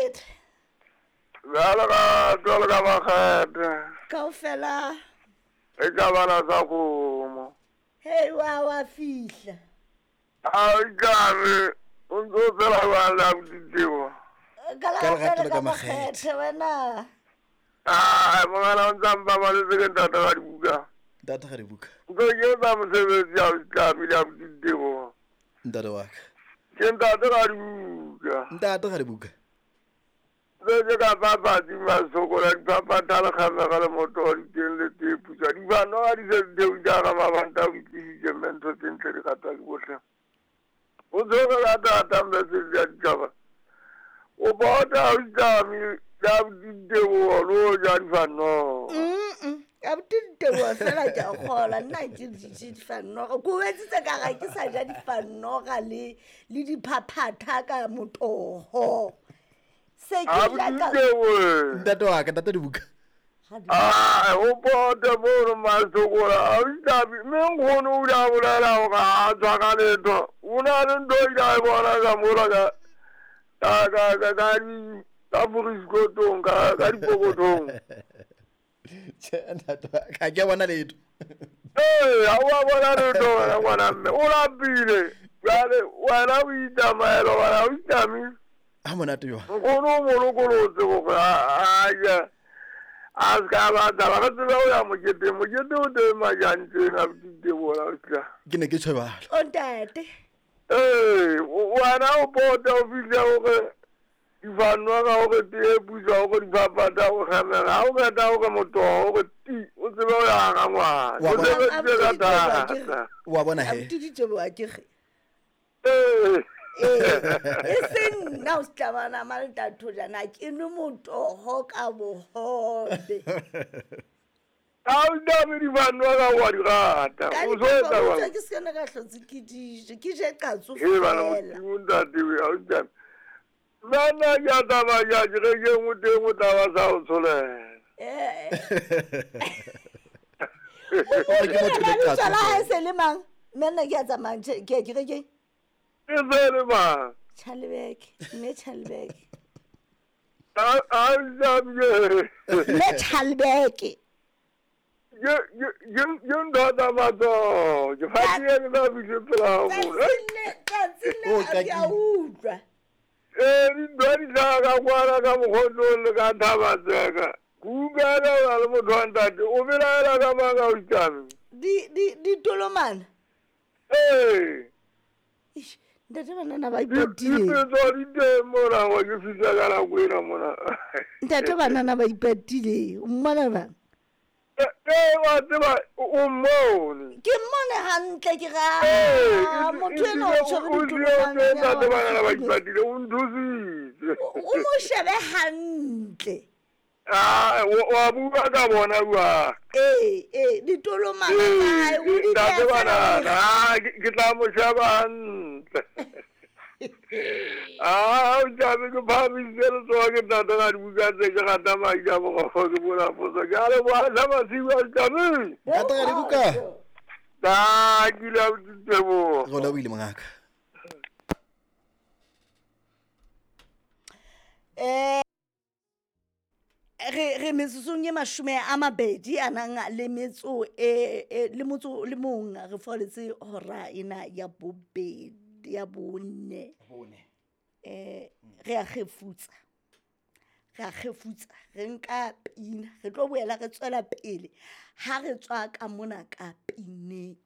Makgethe. Bjalo ka jwalo ka Makgethe. Kaofela. E ka bana sa kgomo. Hei wa wa fihla. A o tlabe o ntse o phela jwang le abuti Tebo? Ka lerato le ka makgethe wena. Ai mongana o ntse a mpabaletse ke ntate ga dibuka. Ntate ga dibuka. Ntse ke etsa mosebetsi a o tlabe le abuti Tebo. Ntate wa ka. Ke ntate ga dibuka. Ntate ga dibuka. Ntse ke ka papatsi masokola diphaphatha le kgamega le moto diteng le tee putswa dibano ga di se di theoile ga mabanta o itlisitse mme ntho tse ntle di ratwa ke bohle. O tshwere ka thata mme se di a ditšhaba. O bota o itlame ya ditebogo le o ja difanoga. Abuti Ditebogo fela ke a kgola nna ke je difanoga ko etsitse ka ga ke sa ja difanoga le le diphaphatha ka motoho se ke ja ka Ntate wa ka, ntate dibuka. A o pote mono masokola a o itlame mme nkgono o ile a bolela gore ga a tswa ka letho o na le ntho o ile a e bona ka mola ka ka ka ka ka di ka forisikotong ka ka dipokotong. Tjhe, ntate wa ka, ga ke a bona letho. Ee, ga o a bona letho wena ngwana mme o lapile jale wena o itsamaela gobane ga o itlame. A monate jwang. Nkgono o mo lokolotse gore a ja a se ka ba taba re tsebe go ya moketeng mokete o teng majantseng a botitebola o tla. Ke ne ke tjho jwalo. O ntate. Ee, wena o pota o fihle gore difanwa ka gore tee putswa gore diphaphatha go kgemega ga o qeta gore motogo gore ti o tsebe go ya ga ngwana Wa o bona- sebeditse ka thata. Wa bona he. Abuti Ditebogo a ke re. Ee. Ee, e seng nna o setlamana ma le jana ke nwe motogo ka bogobe. Ga o tlabe difanwa ka wa di rata Ka o so etsa dipapa jwang? ke se kana ka hlotse ke dije ke je qatso Ee bana fela. modimo ntate we, ga o tlabe nna nna ke a tsamaya ke re ke nngwe teng o tla ba sa o tsholela. Eh. O re ke motho le Lebitso qatso la hae fela. se le mang? Mme nna ke a tsamaya ke ya kerekeng. E se le mang? Chalebeke, mme Chalebeke. A a tlabe Mme Chalebeke. ke ke ke ke ntho tsa matsoho ke fatile ke sa fihle pela hao mona. Tsatsing le O ke a kakile. utlwa. Ee dintho di hlaha ka kwana ka mokgotlong le ka thabatseka ke utlwela o na le motho wa ntate o belaela ka mang a o itlame. Di di ditolomana. Ee. Eish, ntate banana ba ipatile. Dipetso di teng mona wa ke fihla ka nako ena mona. Ntate banana ba ipatile. O mmona bang? Ee wa tseba o mmone. Ke mmone hantle ke ra Ee, motho ena o tshwere o ditolomane. ntate banana ba ipatile o nthusitse. O mo shebe hantle. Ah, wa bua ka bona jwang? Ee, ee, ditolomana tsa hae o di Ntate beha fela banana, ah, ke tla mo sheba hantle. Ah, o tlabe ke phahamisitse letsoho ke ntate ka dibuka tse ke rata madi a morogo ke bona potso. Ke a leboha sa masiu a tlabe. Ntate ga dibuka. Ta ke ile a Teboho. Re o lebohile mongaka. Re re metsotsong e 20 a nang le metso e e le motso le mong re foletse hora ena ya bobedi ya bone. Bone. Re a kgefutsa. Re a kgefutsa re nka pina re tlo boela re tswela pele ha re tswa ka mona ka pineng.